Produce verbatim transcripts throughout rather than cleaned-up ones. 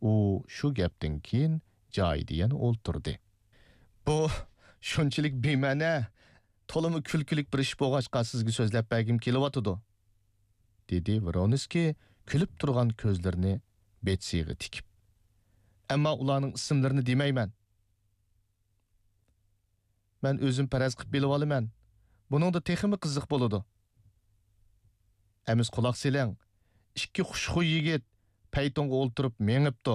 ئۇ شۇ گەپتىن كېيىن جايىدا يەنە ئولتۇردى. بۇ شۇنچىلىك بىمەنە، تولىمۇ كۈلكىلىك بىر ئىش بولغاچقا سىزگە سۆزلەپ بەرگۈم كېلىۋاتىدۇ، دېدى ۋرونسكىي كۈلۈپ تۇرغان كۆزلىرىنى بېتسىغا تىكىپ. ئەمما ئۇلارنىڭ ئىسىملىرىنى دېمەيمەن. مەن ئۆزۈم پەرەز قىلىپ بىلىۋالىمەن. بۇنىڭدا تېخىمۇ قىزىق بولىدۇ. ئەمىسە قۇلاق سېلىڭ، ئىككى خۇشخۇي يىگىت پەيتونغا ئولتۇرۇپ مېڭىپتۇ.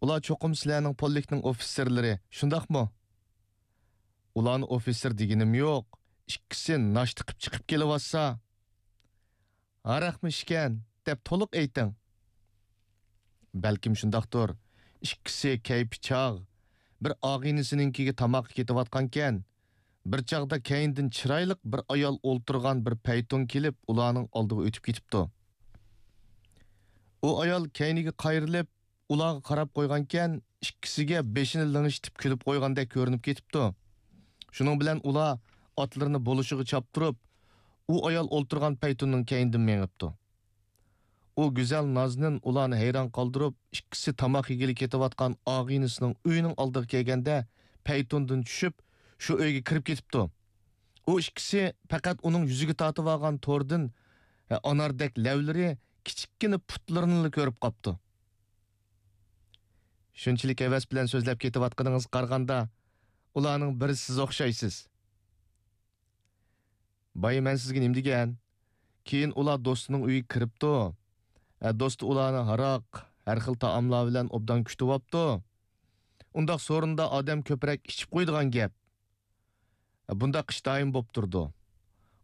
ئۇلار چوقۇم سىلەرنىڭ پولكنىڭ ئوفىتسېرلىرى، شۇنداقمۇ؟ ئۇلارنى ئوفىتسېر دېگىنىم يوق، ئىككىسى ناشتا قىپ چىقىپ كېلىۋاتسا. ھاراقمۇ ئىچكەن دەپ تولۇق ئېيتىڭ. بەلكىم شۇنداقتۇر. ئىككىسى كەيپى چاغ، بىر ئاغىنىسىنىڭكىگە تاماققا كېتىۋاتقانىكەن. بىر چاغدا كەينىدىن چىرايلىق بىر ئايال ئولتۇرغان بىر پەيتون كېلىپ، ئۇلارنىڭ ئالدىغا ئۆتۈپ كېتىپتۇ. ئۇ ئايال كەينىگە قايرىلىپ، ئۇلارغا قاراپ قويغانىكەن، ئىككىسىگە بېشىنى لىڭشىتىپ كۈلۈپ قويغاندەك كۆرۈنۈپ كېتىپتۇ. شۇنىڭ بىلەن ئۇلار ئاتلىرىنى بولۇشىغا چاپتۇرۇپ، ئۇ ئايال ئولتۇرغان پەيتۇننىڭ كەينىدىن مېڭىپتۇ. ئۇ گۈزەل نازنىن ئۇلارنى ھەيران قالدۇرۇپ، ئىككىسى تاماق يېگىلى كېتىۋاتقان ئاغىنىسىنىڭ ئۆيىنىڭ ئالدىغا كەلگەندە، پەيتۇندىن چۈشۈپ، شۇ ئۆيگە كىرىپ كېتىپتۇ. ئۇ ئىككىسى پەقەت ئۇنىڭ يۈزىگە تارتىۋالغان توردىن ئاناردەك لەۋلىرى، كىچىككىنە پۇتلىرىنىلا كۆرۈپ قاپتۇ. شۇنچىلىك ھەۋەس بىلەن سۆزلەپ كېتىۋاتقىنىڭىزغا قارىغاندا، ئۇلارنىڭ بىرى سىز ئوخشايسىز. بايا مەن سىزگە نېمە دېگەن؟ كېيىن ئۇلار دوستىنىڭ ئۆيىگە كىرىپتۇ. ئە، دوستى ئۇلارنى ھاراق، ھەر خىل تائاملار بىلەن ئوبدان كۈتۈۋاپتۇ. ئۇنداق سورۇندا ئادەم كۆپرەك ئىچىپ قويىدىغان گەپ. ئە، بۇنداق ئىش دائىم بوپ تۇرىدۇ.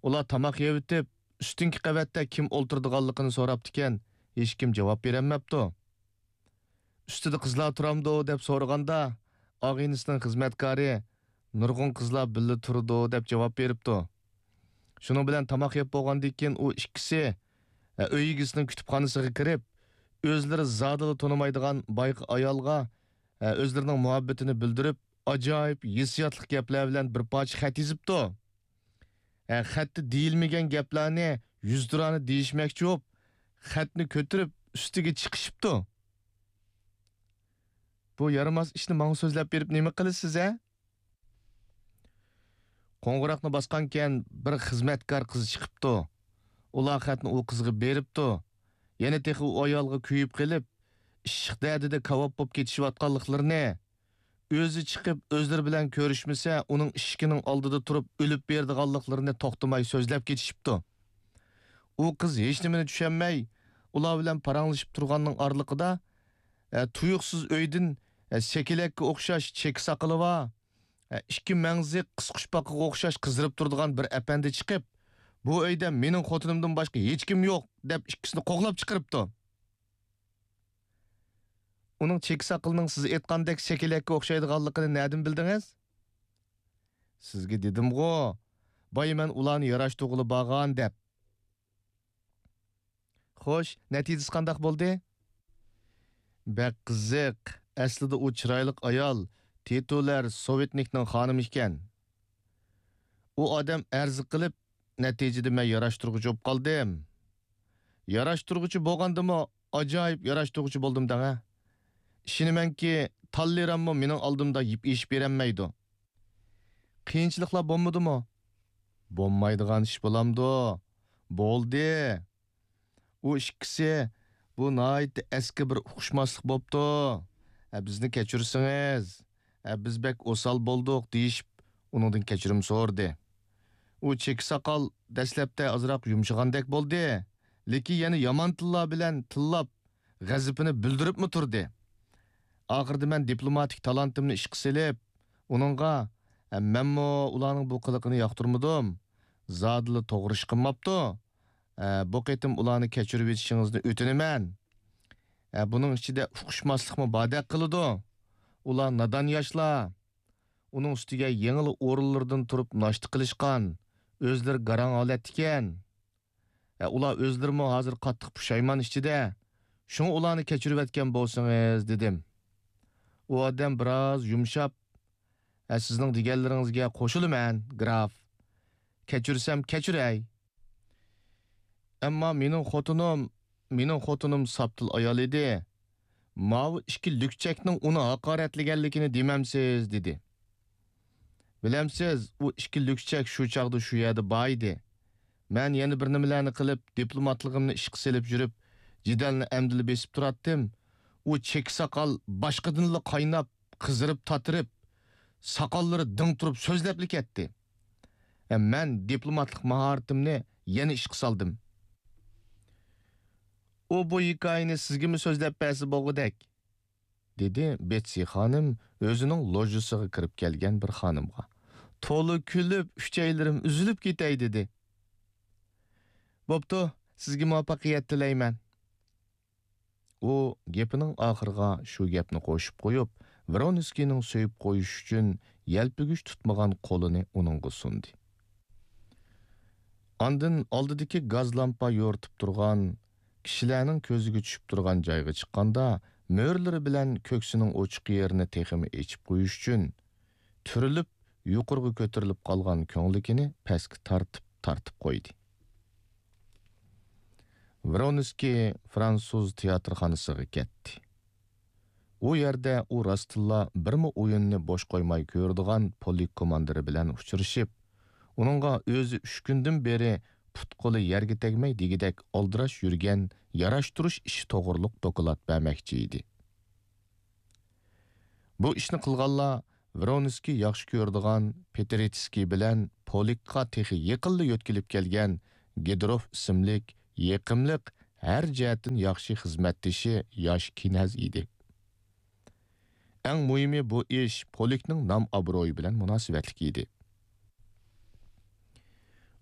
ئۇلار تاماق يەۋېتىپ، ئۈستۈنكى قەۋەتتە كىم ئولتۇرىدىغانلىقىنى سوراپتىكەن، ھېچكىم جاۋاب بېرەلمەپتۇ. ئۈستىدە قىزلار تۇرامدۇ دەپ سورىغاندا، ئاغىنىسىنىڭ خىزمەتكارى نۇرغۇن قىزلار بىللە تۇرىدۇ دەپ جاۋاب بېرىپتۇ. شۇنىڭ بىلەن تاماق يەپ بولغاندىن كېيىن ئۇ ئىككىسى، ئە، ئۆي ئىگىسىنىڭ كۈتۈپخانىسىغا كىرىپ، ئۆزلىرى زادىلا تونۇمايدىغان بايىقى ئايالغا، ئە، ئۆزلىرىنىڭ مۇھەببىتىنى بىلدۈرۈپ، ئاجايىپ ھېسسىياتلىق گەپلەر بىلەن بىر پارچە خەت يېزىپتۇ. ھە، خەتتە دېيىلمىگەن گەپلەرنى يۈزتۇرانە دېيىشمەكچى بولۇپ، خەتنى كۆتۈرۈپ ئۈستىگە چىقىشىپتۇ. بۇ يارىماس ئىشنى ماڭا سۆزلەپ بېرىپ نېمە قىلىسىز، ھە؟ قوڭغۇراقنى باسقانكەن بىر خىزمەتكار قىز چىقىپتۇ. ئۇلار خەتنى ئۇ قىزغا بېرىپتۇ. يەنە تېخى ئۇ ئايالغا كۆيۈپ قېلىپ، ئىششىق دەردىدە كاۋاپ بولۇپ كېتىشىۋاتقانلىقلىرىنى، ئۆزى چىقىپ ئۆزلىرى بىلەن كۆرۈشمىسە، ئۇنىڭ ئىشىكىنىڭ ئالدىدا تۇرۇپ ئۆلۈپ بېرىدىغانلىقلىرىنى توختىماي سۆزلەپ كېتىشىپتۇ. ئۇ قىز ھېچنېمىنى چۈشەنمەي، ئۇلار بىلەن پاراڭلىشىپ تۇرغاننىڭ ئارىلىقىدا، ئە، تۇيۇقسىز ئۆيدىن، ئە، سېكىلەككە ئوخشاش چېكە ساقىلى بار، ئە، ئىككى مەڭزى قىسقۇچپاقىغا ئوخشاش قىزىرىپ تۇرىدىغان بىر ئەپەندى چىقىپ، بۇ ئۆيدە مېنىڭ خوتۇنۇمدىن باشقا ھېچكىم يوق، دەپ ئىككىسىنى قوغلاپ چىقىرىپتۇ. ئۇنىڭ چېكە ساقىلىنىڭ سىز ئېيتقاندەك سېكىلەككە ئوخشايدىغانلىقىنى نەدىن بىلدىڭىز؟ سىزگە دېدىمغۇ، بايا مەن ئۇلارنى ياراشتۇرغىلى بارغان دەپ. خوش، نەتىجىسى قانداق بولدى؟ بەك قىزىق. ئەسلىدە ئۇ چىرايلىق ئايال، تىتۇلەر سوۋېتنىكنىڭ خانىمى ئىكەن. ئۇ ئادەم ئەرز قىلىپ، نەتىجىدە مەن ياراشتۇرغۇچى بولۇپ قالدىم. ياراشتۇرغۇچى بولغاندىمۇ ئاجايىپ ياراشتۇرغۇچى بولدۇم دەڭە. ئىشىنىمەنكى، تاللېراممۇ مېنىڭ ئالدىمدا يىپ ئېشىپ بېرەلمەيدۇ. قىيىنچىلىقلار بولمىدىمۇ؟ بولمايدىغان ئىش بولامدۇ؟ بولدى. ئۇ ئىككىسى، بۇ ناھايىتى ئەسكى بىر ئۇقۇشماسلىق بوپتۇ. ئە، بىزنى كەچۈرسىڭىز، ئە، بىز بەك ئوسال بولدۇق، دېيىشىپ، ئۇنىڭدىن كەچۈرۈم سورىدى. ئۇ چېكە ساقال دەسلەپتە ئازراق يۇمشىغاندەك بولدى، لېكىن يەنە يامان تىللار بىلەن تىللاپ، غەزىپىنى بىلدۈرۈپمۇ تۇردى. ئاخىرىدا مەن دىپلوماتىك تالانتىمنى ئىشقا سېلىپ، ئۇنىڭغا، ئە، مەنمۇ ئۇلارنىڭ بۇ قىلىقىنى ياقتۇرمىدىم. زادىلا توغرا ئىش قىلماپتۇ. ئە، بۇ قېتىم ئۇلارنى كەچۈرۈۋېتىشىڭىزنى ئۆتۈنىمەن. ئە، بۇنىڭ ئىچىدە ئۇقۇشماسلىقمۇ باردەك قىلىدۇ. ئۇلار نادان ياشلار. ئۇنىڭ ئۈستىگە يېڭىلا ئورۇنلىرىدىن تۇرۇپ ناشتا قىلىشقان، ئۆزلىرى گاراڭ ھالەتتىكەن. ئە، ئۇلار ئۆزلىرىمۇ ھازىر قاتتىق پۇشايمان ئىچىدە. شۇڭا ئۇلارنى كەچۈرۈۋەتكەن بولسىڭىز، دېدىم. ئۇ ئادەم بىراز يۇمشاپ، ئە، سىزنىڭ دېگەنلىرىڭىزگە قوشۇلىمەن، گراف. كەچۈرسەم كەچۈرەي. ئەمما مېنىڭ خوتۇنۇم، مېنىڭ خوتۇنۇم ساپتىل ئايال ئىدى. ماۋۇ ئىككى لۈكچەكنىڭ ئۇنى ھاقارەتلىگەنلىكىنى دېمەمسىز؟» دېدى. بىلەمسىز، ئۇ ئىككى لۈكچەك شۇ چاغدا شۇ يەردە بار ئىدى. مەن يەنە بىر نېمىلەرنى قىلىپ، دىپلوماتلىقىمنى ئىشقا سېلىپ يۈرۈپ، جېدەلنى ئەمدىلا بېسىپ تۇراتتىم. ئۇ چېكە ساقال باشقىدىنلا قايناپ، قىزىرىپ تاتىرىپ، ساقاللىرى دىڭ تۇرۇپ سۆزلەپلا كەتتى. ھە، مەن دىپلوماتلىق ماھارىتىمنى يەنە ئىشقا سالدىم. «ئۇ بۇ ھېكايىنى سىزگىمۇ سۆزلەپ بەرسە بولغۇدەك»، دېدى بېتسى خانىم ئۆزىنىڭ لوژىسىغا كىرىپ كەلگەن بىر خانىمغا. تولا كۈلۈپ، ئۈچەيلىرىم ئۈزۈلۈپ كېتەي دېدى. بوپتۇ، سىزگە مۇۋەپپەقىيەت تىلەيمەن. ئۇ گېپىنىڭ ئاخىرىغا شۇ گەپنى قوشۇپ قويۇپ، ۋرونسكىينىڭ سۆيۈپ قويۇش ئۈچۈن يەلپۈگۈچ تۇتمىغان قولىنى ئۇنىڭغا سۇندى. ئاندىن ئالدىدىكى گاز لامپا يورۇتۇپ تۇرغان، كىشىلەرنىڭ كۆزىگە چۈشۈپ تۇرغان جايغا چىققاندا، مۆرىلىرى بىلەن كۆكسىنىڭ ئوچۇق يېرىنى تېخىمۇ ئېچىپ قويۇش ئۈچۈن، تۈرۈلۈپ، يۇقىرىغا كۆتۈرۈلۈپ قالغان كۆڭلىكىنى پەسكە تارتىپ، تارتىپ قويدى. ۋرونسكىي فىرانسۇز تىياتىرخانىسىغا كەتتى. ئۇ يەردە ئۇ راستتىنلا بىرمۇ ئويۇننى بوش قويماي كۆرىدىغان پولك كوماندىرى بىلەن ئۇچرىشىپ، ئۇنىڭغا ئۆزى ئۈچ كۈندىن بېرى پۇت-قولى يەرگە تەگمەي دېگۈدەك ئالدىراش يۈرگەن ياراشتۇرۇش ئىشى توغرۇلۇق دوكلات بەرمەكچى ئىدى. بۇ ئىشنى قىلغانلار ۋرونسكىي ياخشى كۆرىدىغان پېترېتسكىي بىلەن پولكقا تېخى يېقىنلا يۆتكىلىپ كەلگەن گېدروف ئىسىملىك يېقىملىق، ھەر جەھەتتىن ياخشى خىزمەتدىشى ياش كىنەز ئىدى. ئەڭ مۇھىمى، بۇ ئىش پولكنىڭ نام-ئابرۇيى بىلەن مۇناسىۋەتلىك ئىدى.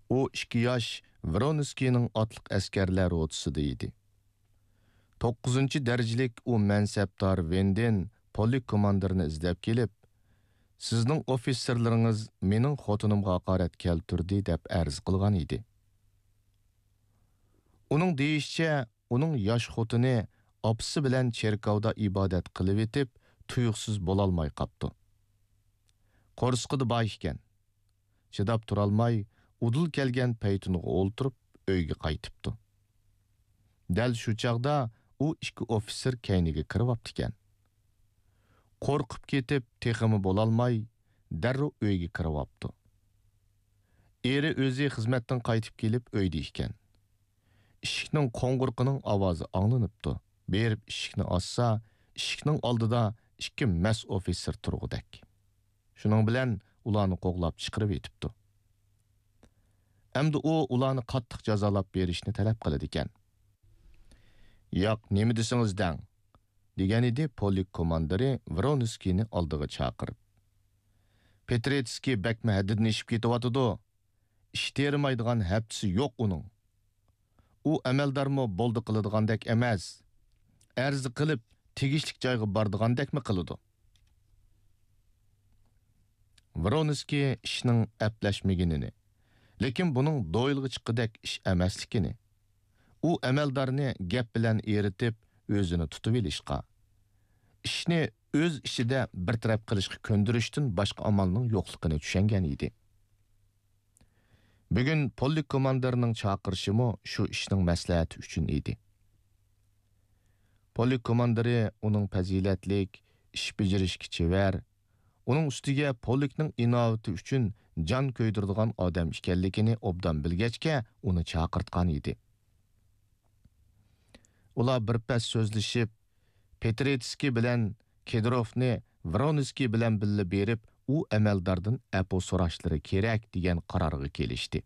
ئۇ ئىككى ياش ۋرونسكىينىڭ ئاتلىق ئەسكەرلەر روتىسىدا ئىدى. توققۇزىنچى دەرىجىلىك ئۇ مەنسەپدار ۋېندېن پولك كوماندىرىنى ئىزدەپ كېلىپ، «سىزنىڭ ئوفىتسېرلىرىڭىز مېنىڭ خوتۇنۇمغا ھاقارەت كەلتۈردى» دەپ ئەرز قىلغان ئىدى. ئۇنىڭ دېيىشىچە، ئۇنىڭ ياش خوتۇنى ئاپىسى بىلەن چېركاۋدا ئىبادەت قىلىۋېتىپ، تۇيۇقسىز بولالماي قاپتۇ. قورسىقىدا بار ئىكەن. چىداپ تۇرالماي، ئۇدۇل كەلگەن پەيتۇنغا ئولتۇرۇپ، ئۆيگە قايتىپتۇ. دەل شۇ چاغدا ئۇ ئىككى ئوفىتسېر كەينىگە كىرىۋاپتىكەن. قورقۇپ كېتىپ، تېخىمۇ بولالماي، دەررۇ ئۆيگە كىرىۋاپتۇ. ئېرى ئۆزى خىزمەتتىن قايتىپ كېلىپ ئۆيدە ئىكەن. ئىشىكنىڭ قوڭغۇرىقىنىڭ ئاۋازى ئاڭلىنىپتۇ. بېرىپ ئىشىكنى ئاچسا، ئىشىكنىڭ ئالدىدا ئىككى مەس ئوفىتسېر تۇرغۇدەك. شۇنىڭ بىلەن ئۇلارنى قوغلاپ چىقىرىۋېتىپتۇ. ئەمدى ئۇ ئۇلارنى قاتتىق جازالاپ بېرىشنى تەلەپ قىلىدىكەن. «ياق، نېمە دېسىڭىز دەڭ» دېگەنىدى پولك كوماندىرى ۋرونسكىينى ئالدىغا چاقىرىپ. «پېترېتسكىي بەكمۇ ھەددىدىن ئېشىپ كېتىۋاتىدۇ. ئىش تېرىمايدىغان ھەپتىسى يوق ئۇنىڭ. ئۇ ئەمەلدارمۇ بولدى قىلىدىغاندەك ئەمەس. ئەرز قىلىپ، تېگىشلىك جايغا بارىدىغاندەكمۇ قىلىدۇ.» ۋرونسكىي ئىشنىڭ ئەپلەشمىگىنىنى، لېكىن بۇنىڭ دويلىغا چىققۇدەك ئىش ئەمەسلىكىنى، ئۇ ئەمەلدارنى گەپ بىلەن ئېرىتىپ، ئۆزىنى تۇتۇۋېلىشقا، ئىشنى ئۆز ئىچىدە بىر تەرەپ قىلىشقا كۆندۈرۈشتىن باشقا ئامالنىڭ يوقلۇقىنى چۈشەنگەن ئىدى. بۈگۈن پولك كوماندىرىنىڭ چاقىرىشىمۇ شۇ ئىشنىڭ مەسلىھەتى ئۈچۈن ئىدى. پولك كوماندىرى ئۇنىڭ پەزىلەتلىك، ئىش بېجىرىشكە چېۋەر، ئۇنىڭ ئۈستىگە پولكنىڭ ئىناۋىتى ئۈچۈن جان كۆيدۈرىدىغان ئادەم ئىكەنلىكىنى ئوبدان بىلگەچكە، ئۇنى چاقىرتقان ئىدى. ئۇلار بىر پەس سۆزلىشىپ، پېترېتسكىي بىلەن كېدروفنى ۋرونسكىي بىلەن بىللە بېرىپ، ئۇ ئەمەلداردىن ئەپۇ سوراشلىرى كېرەك، دېگەن قارارغا كېلىشتى.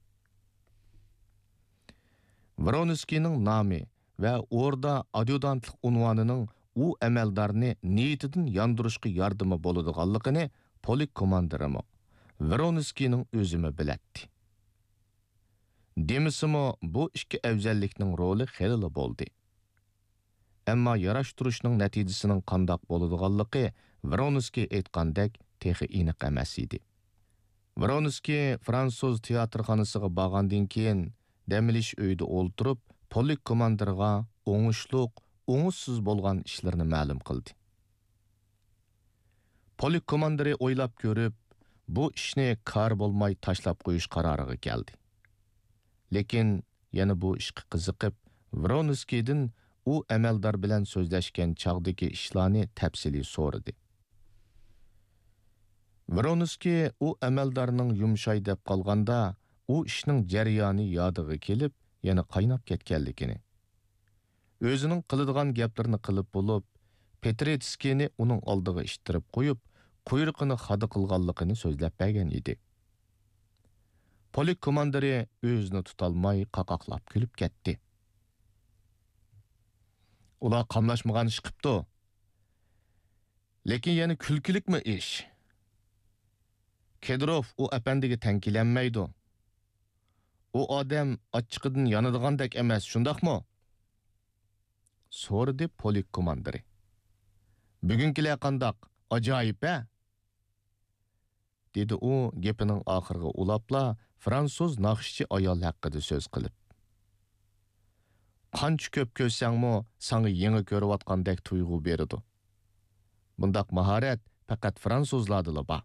ۋرونسكىينىڭ نامى ۋە ئوردا ئاديۇدانتلىق ئۇنۋانىنىڭ ئۇ ئەمەلدارنى نىيىتىدىن ياندۇرۇشقا ياردىمى بولىدىغانلىقىنى پولك كوماندىرىمۇ، ۋرونسكىينىڭ ئۆزىمۇ بىلەتتى. دېمىسىمۇ، بۇ ئىككى ئەۋزەللىكنىڭ رولى خېلىلا بولدى. ئەمما ياراشتۇرۇشنىڭ نەتىجىسىنىڭ قانداق بولىدىغانلىقى ۋرونسكىي ئېيتقاندەك تېخى ئېنىق ئەمەس ئىدى. ۋرونسكىي فىرانسۇز تىياتىرخانىسىغا بارغاندىن كېيىن، دەم ئېلىش ئۆيىدە ئولتۇرۇپ، پولك كوماندىرىغا ئوڭۇشلۇق، ئوڭۇشسىز بولغان ئىشلىرىنى مەلۇم قىلدى. پولك كوماندىرى ئويلاپ كۆرۈپ، بۇ ئىشنى كارى بولماي تاشلاپ قويۇش قارارىغا كەلدى. لېكىن يەنە بۇ ئىشقا قىزىقىپ، ۋرونسكىيدىن ئۇ ئەمەلدار بىلەن سۆزلەشكەن چاغدىكى ئىشلارنى تەپسىلىي سورىدى. ۋرونسكىي ئۇ ئەمەلدارنىڭ يۇمشاي دەپ قالغاندا، ئۇ ئىشنىڭ جەريانى يادىغا كېلىپ، يەنە قايناپ كەتكەنلىكىنى، ئۆزىنىڭ قىلىدىغان گەپلىرىنى قىلىپ بولۇپ، پېترېتسكىينى ئۇنىڭ ئالدىغا ئىتتىرىپ قويۇپ، قۇيرۇقىنى خادا قىلغانلىقىنى سۆزلەپ بەرگەن ئىدى. پولك كوماندىرى ئۆزىنى تۇتالماي قاقاقلاپ كۈلۈپ كەتتى. ئۇلار قاملاشمىغان ئىش قىپتۇ. لېكىن يەنە كۈلكىلىكمۇ ئىش. كىدروف ئۇ ئەپەندىگە تەڭ كېلەلمەيدۇ. ئۇ ئادەم ئاچچىقىدىن يانىدىغاندەك ئەمەس، شۇنداقمۇ؟ سورىدى پولك كوماندىرى. بۈگۈنكىلەر قانداق؟ ئاجايىپ ھە؟ دېدى ئۇ گېپىنىڭ ئاخىرىغا ئۇلاپلا، فرانسۇز ناخشىچى ئايال ھەققىدە سۆز قىلىپ. قانچە كۆپ كۆرسەڭمۇ، ساڭا يېڭى كۆرۈۋاتقاندەك تۇيغۇ بېرىدۇ. بۇنداق ماھارەت پەقەت فرانسۇزلاردىلا بار.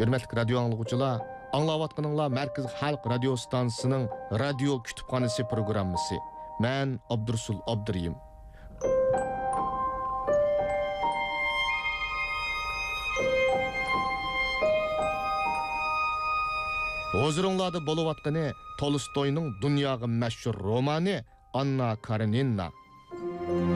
ھۆرمەتلىك رادىيو ئاڭلىغۇچىلار، ئاڭلاۋاتقىنىڭلار مەركىزىي خەلق رادىيو ستانسىسىنىڭ رادىيو كۇتۇپخانىسى پروگراممىسى. مەن ئابدۇرۇسۇل ئابدۇرېھىم. ھۇزۇرۇڭلاردا بولۇۋاتقىنى تولستوينىڭ دۇنياغا مەشھۇر رومانى ئاننا كارېنىنا.